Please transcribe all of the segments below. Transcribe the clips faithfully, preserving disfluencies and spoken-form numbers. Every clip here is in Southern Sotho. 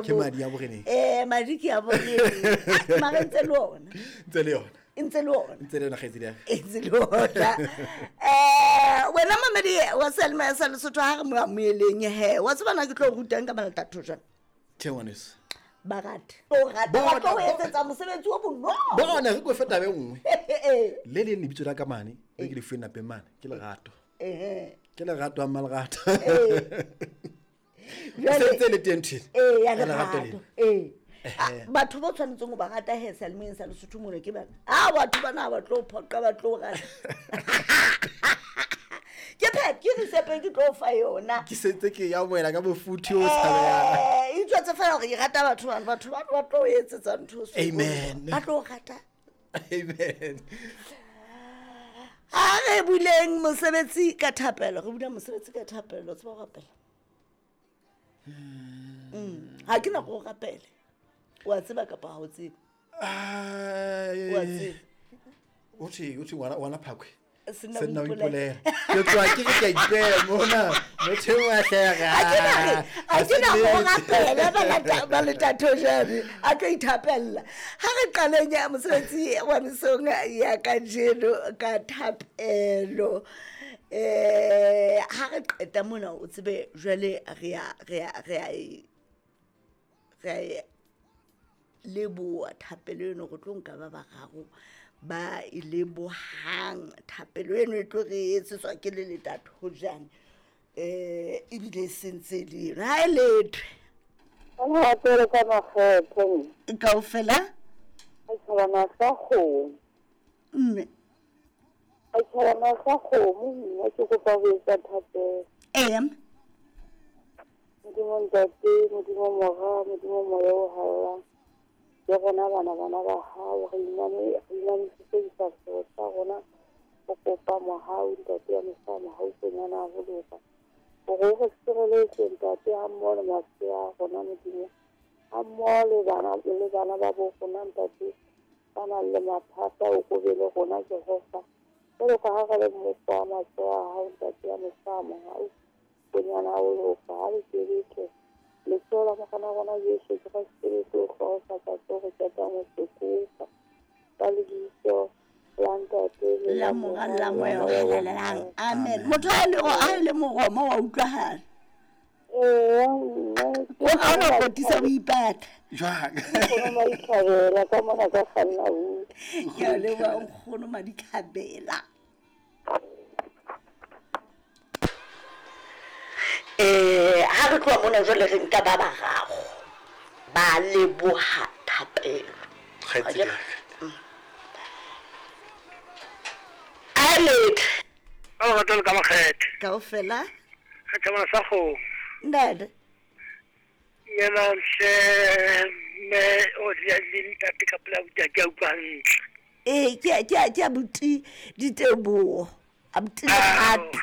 Ke madi a boreneng. Eh, madi ke a boreneng. Mara ntse le ona. Ntse le yona. Ntse le ona. Ntse le yona kgaitsedi ya ka. Ntse le ona. Eh, wena mamedi wa Selma sa Lesotho ha re mo amoheleng he. Wa tseba na ke tlo rutang ka malata thojana. Tjhe ngwaneso. Ba rata. O rata ba tlo etsetsa mosebetsi o bonolo. Bona re go feta be nngwe. Le leng lebitso la ka mane, le ke le fuwe napeng mane, ke Lerato. Eh. Ke Lerato a Malerato. Eh. Jwale le teng thwe. Eh, ya Lerato. Eh. Batho ba tshwanetseng ho ba rata he Selmeng sa Lesotho mona ke bana. Ah, batho bana ba tlo phoqa ba tlo rata. Ke phet ke risepe ke tlo fa yona. Ke sentse ke ya moela ka mofuthu o tshabehang. Eh, itse fela hore ke rata batho bana, batho ba ba tlo etsetsa ntho so. Amen. Ba tlo rata. Amen. Ha re buleng mosebetsi ka thapelo, re bula mosebetsi ka thapelo, tseba ho rapela. Mm. Ha ke na go rapele. Wa tseba kapa ha o tsebe? Ah, wa tseba. O tshi o tshi wana wana phakwe. Sena Sena o ipolela. ipolela. Ke tloha ke re ke a ipeha mona. Motho e wa hlera. Ha ke na re, ha ke na go rapela ba lata ba lata thojane. A tlo ithapella. Ha re qaleng ya mosebetsi wa mesong ya kajeno ka thapelo. Eh, ha re qeta mona o tsebe jwale re ya re ya re ya re leboha thapelo eno re tlo nka ba bararo ba e lebohang thapelo eno e tlo re etsetswa ke le leta thojane. Eh, ebile e sentse le eno. Ha e lethwe. Lerato ka makgethe. Kaofela? Setjhabana sa kgomo. Mme. Setjhabana sa kgomo, mme ke kopa ho etsa thapelo. Ee. Modimo Ntate, Modimo Mora, Modimo Moya o Halalelang. Ke rona bana bana ba hao, re iname, re inamisitse difahleho tsa rona ho kopa mohau, Ntate ya mohau, mohau konyana ho loka. Hore o re sireletse, Ntate, ha mmoho le masea a rona, Modimo. Ha mmoho le bana, le bana ba bo rona, Ntate, ba nang le mathata, o kobe le rona, Jehova. Jwalo ka ha re le mmuso wa matsoho a hao, Ntate ya mohau, mohau konyana ho loka. Ha le sebetse. Letsoho la Morena rona Jesu Kreste le tlo hlohofatsa tseo re qetang ho se kopa. Ka lebitso la Ntate le La la Mora Mora le la le la Moya o Moya o Halalelang. Amen. Amen. Motho ha e le ha e le moroma wa utlwahala. Ee, mme ke O ha ona nkgono kotisa o ipata. Jwang? Nkgono Madikhabela ka mona ka kganna buka. Ke a leboha nkgono Madikhabela. Eh, ha re tloha mona jwale re nka ba bararo ba leboha thapelo. Kgaitsedi ya ka. A lethwe. Ka lerato le ka makgethe. Kaofela? Setjhabana sa kgomo. Ntate. Yena hle mme o le ntate ka pela abuti ha ke a utlwa hantle. Eh, ke a ke a ke abuti diteboho. Abuti Lerato.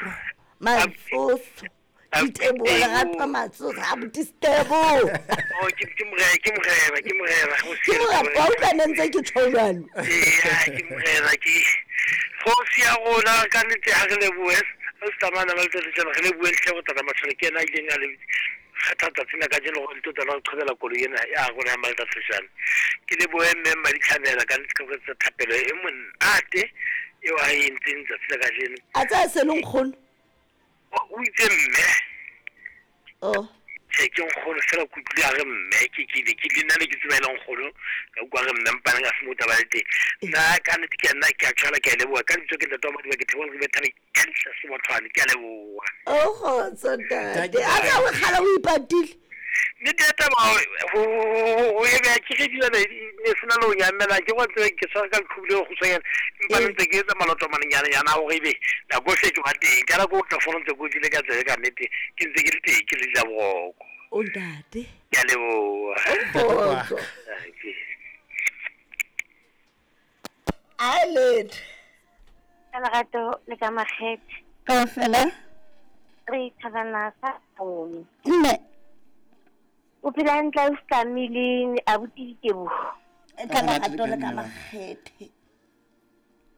Matsoso. Diteboho Lerato Matsoso. Abuti Seteboho. Oh, ke ke morena, ke morena, ke morena. Ke morena, wa utlwa ne ntse ke tjho jwalo. Ee, ke morena ke. Kgosi ya rona ka nnete ha re lebohe. Ha se tsamaya ba le tsela re lebohe hle go tata Matshwana ke yena a ileng a le kgetha tsatsi la kajeno hore le tlo tla re qhobela koloi ena ya rona ya Malta Seshane. Ke lebohe mme Madikhabela ka nnete ka ho etsa thapelo e monate eo a e entseng tsatsi la kajeno. A tsaya se le nkgono? O itse mme. Oh. Tjhe, ke nkgono fela ke utlwile a re mme, ke ke ile ke le nna ne ke tseba e le nkgono, ka utlwa a re mme mpane ka se mo taba le teng. Nna ka nnete ke a nna ke a qala ke a leboha ka lebitso ke ntate wa Madiba ke theoha re thabe ke ntle se mothwane ke a leboha. Oh kgotso ntate. A tsa o kgala o ipatile. Nnete ya taba ho ho e beha ke re dilwana ne sena le ho nyamela ke wa tsebe ke tshwara ka leqhubu le kgutshwanyane empa ne ntse ke etsa maloto a manyenyane a hore ebe nako e ke ba teng ka nako o tla fono ntse ke utlwile ka tsebe ka nnete ke ntse ke le teng ke le ja boroko. O ntate. Ke a leboha. Kgotso. A lethwe. Ka lerato le ka makgethe. Kaofela? Re thabana sa kgomo. Mme. O phela hantle o hlamile abuti Diteboho. Ka lerato le ka makgethe.